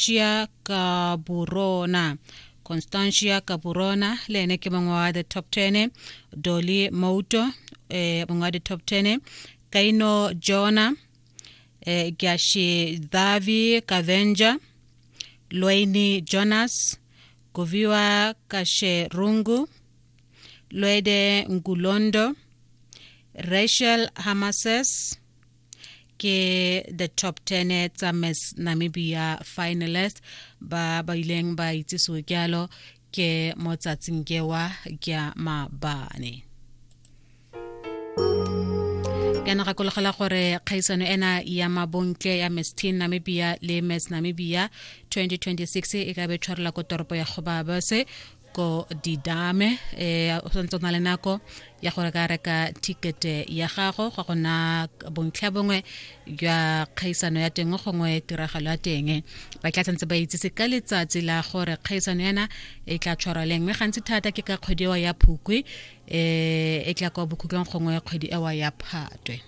Constantia Kaburona. Constantia Kaburona le ene ke mongwe wa the top 10. Dolly Mouto eh mongwe wa the top 10. Kaino Jona eh Gyashidavi Kavenja Loini Jonas Goviwa Kasherungu Lwede Ngulondo Rachel Hamases ke the top 10 tsa Miss Namibia finalist ba ba ileng ba itsisiwe jalo ke mo tsatsing kewa kya maabane. Ke na gakologela gore kgaisano ena ya mabontle ya Miss Teen Namibia le Miss Namibia 2026 e ka be tshwarela ko toropo ya Gobabese ko didame eh o santse o na le nako ya gore ka reka ticket ya gago ga gona bontlha bongwe jwa kgaisano ya teng gongwe tiragalo ya teng ba tla santse ba itsise ka letsatsi la gore kgaisano yana e tla tshwarwa leng mme gantsi thata ke ka kgwedi ewa ya phukwi eh e tla kwa bokhutlong gongwe kgwedi ewa ya phatwe.